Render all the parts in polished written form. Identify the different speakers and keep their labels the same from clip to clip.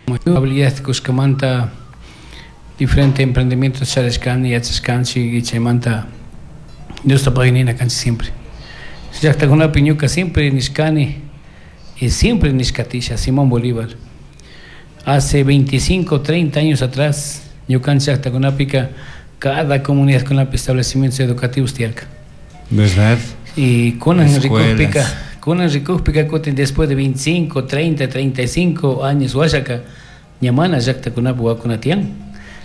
Speaker 1: Habilidad kushkamanta diferente emprendimientos charishkani, yachashkanchik y chaymanta Diosta paginina kanchik siempre. Llaqtakunapi ñuka siempre nishkani y siempre nishkatisha Simón Bolívar. Hace 25, 30 años atrás, ñukanchik llaqtakunapika cada comunidadkunapi establecimientos educativos tiyarka.
Speaker 2: ¿Verdad?
Speaker 1: Y kunan
Speaker 2: Escuelas.
Speaker 1: Rikukpika kutin después de 25, 30, 35 años washaka ña mana llaqtakunapi wawakuna tiyan.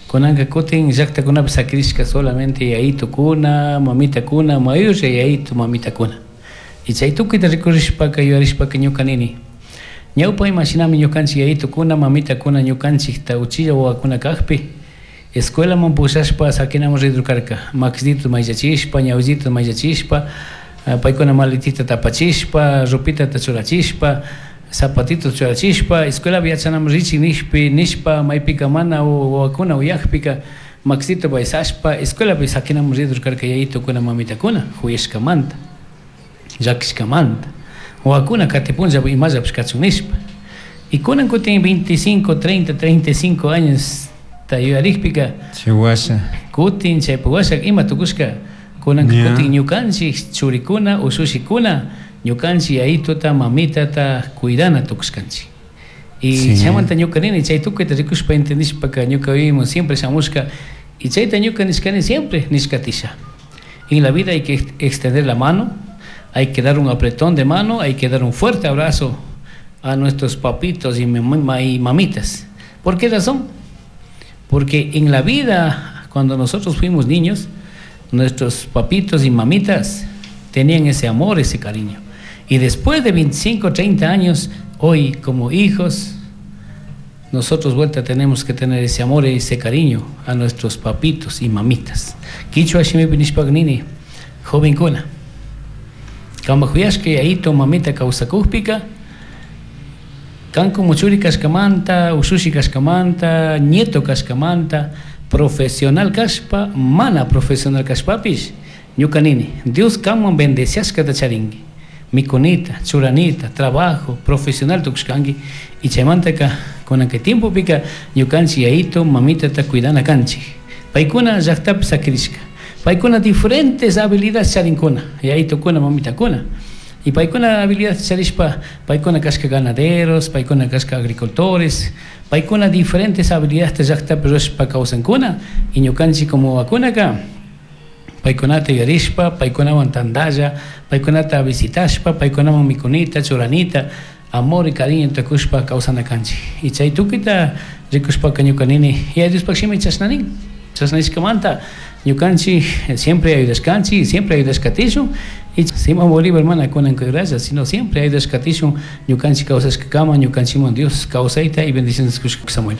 Speaker 1: Kunanka kutin llaqtakunapi sakirishka solamente yayitukuna, mamitakuna, mayulla yayitu mamitakuna. Y chay tukuyta rikurishpaka yuyarishpaka ñuka nini. Ñawpa imashinami ñukanchik yayitukuna, mamitakuna ñukanchikta uchilla wawakuna kajpi escuelaman pushashpa sakinaman ridur karka. Makisito mayllachishpa, ñawisito mayllachishpa, paykuna maletita tapachishpa, ropitata churachishpa, zapatito churachishpa, escuelapi yachanaman richik nishpi, nishpa maypika mana wawakuna uyakpika makisito baysashpa, escuelapi sakinaman ridur karka yayitukuna, mamitakuna, huyashkamanta, llakishkamanta. Wawakuna katipunlla imallapish kachun nishpa. Y kunan kutin 25, 30, 35 años ta yuyarikpika,
Speaker 2: Chihuahua.
Speaker 1: kutin chaypa washa ima tukushka, kunan kutin ñukanchik churikuna, usushikuna, ñukanchik yayituta, mamitata cuidana tukushkanchik. Y chaymanta ñuka nini, chay tukuyta rikushpa entendishpaka ñuka vivimos siempre shamushka, y chayta ñuka nishkani siempre nishkatisha. En la vida hay que extender la mano, hay que dar un apretón de mano, hay que dar un fuerte abrazo a nuestros papitos y mamitas. ¿Por qué razón? Porque en la vida, cuando nosotros fuimos niños, nuestros papitos y mamitas tenían ese amor, ese cariño. Y después de 25, 30 años, hoy como hijos, nosotros vuelta tenemos que tener ese amor y ese cariño a nuestros papitos y mamitas. Kichwa shimipi nishpaka nini, jovencuna. Kama huyashka yayito mamita kawsakukpika, kan como churi kashkamanta, ushushi kashkamanta, nieto kashkamanta, profesional kashpa, mana profesional kashpapish, ñuka nini, Dios kanman bendeciashkata charinki. Mikunita, churanita, trabajo, profesional tukushkanki, y chaymantaka, kunan kay tiempopika, ñukanchik yayito, mamitata cuidana kanchik. Paykuna llaqtapi sakirishka. Paykuna diferentes habilidades charinkuna, yayitukuna, mamitakuna. Y paykuna habilidades charishpa, paykuna kashka ganaderos, paykuna kashka agricultores, paykuna diferentes habilidades llaqtapi rurashpa kawsankuna, y ñukanchik como wawakunaka, paykunata yuyarishpa, paykunawan tantalla, paykunata visitashpa, paykunawan mikunita, churanita, amor y cariño tukushpa kawsana kanchik. Y chay tukuyta rikushpaka ñuka nini, Yaya Diospaj shimi chashna nin. Chashna nishkamanta ñukanchik siempre ayudashkanchik, siempre ayudashkatishun. Y Simón Bolívar mana kunan gracias, sino siempre ayudashkatishun ñukanchik kawsashkakama, ñukanchikman Dios kawsayta y bendiciones kushka Samuel.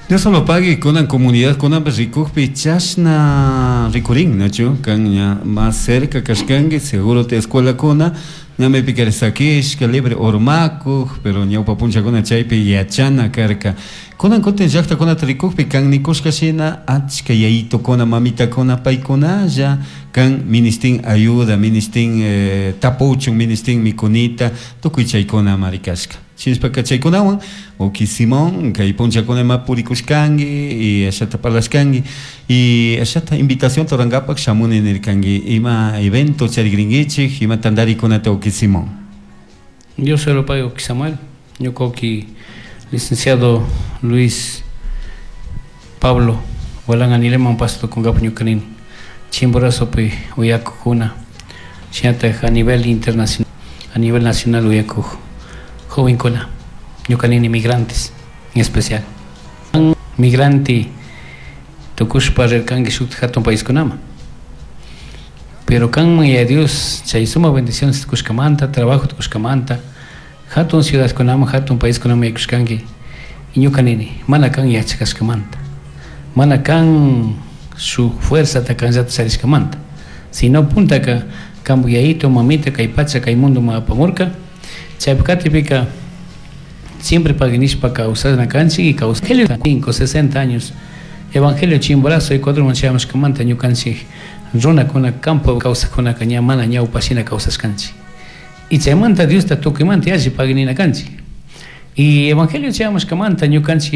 Speaker 2: Dios solo pague kunan comunidad, kunan rikukpi chashna rikurin, nachu? Kan ña más cerca kashkanki, seguro te escuela kuna, ña maypi sakishka, libre urmakuj, pero ñawpa punchakuna chaypi yachana karka. Kunan kutin llaqtakunata rikukpi kan nikushka shina achka yayitukuna, mamitakuna, paykunalla kan ministin ayuda, ministin tapuchun, ministin mikunita, tukuy chaykuna marikashka. Shinashpaka chaykunawan, uki Simón, kay punchakuna ima purikushkanki, y ashata parlashkanki, y ashata invitación rurankapak shamuni nirkanki, ima evento charikrinkichik, ima tantarikunata uki Simón.
Speaker 1: Yo se lo pago, uki Samuel. Ñuka uki licenciado Luis Pablo Gualán Anileman pasto kunkapak ñuka nini. Chimborazopi uyakukuna, shinatak a nivel internacional, a nivel nacional uyakuj jovencuna, ñuka nini migrantes en especial. Migrante tukushpa rirkanki shuk hatun paiskunama. Pero kanman ya Dios chay suma bendiciones tukushkamanta, trabajo tukushkamanta, hatun ciudadkunaman, hatun paiskunaman yaykushkanki. Y ñuka nini, mana kan yachakashkamanta, mana kan su fuerza kanllata charishkamanta, sino puntaka kanpak yayito, mamita, kay pacha, kay mundo ma apamurka. Chaypi katipika siempre paginishpa kawsana kanchik y kawsa. Evangelio 5, 60 años. Evangelio Chimborazo, Ecuador manchayamashkamanta ñukanchik runakuna campo kawsakkunaka ña mana ñawpa shina kawsashkanchik. Y chaymanta Diosta tukuymanta yalli paginina kanchik. Y Evangelio chayamushkamanta ñukanchik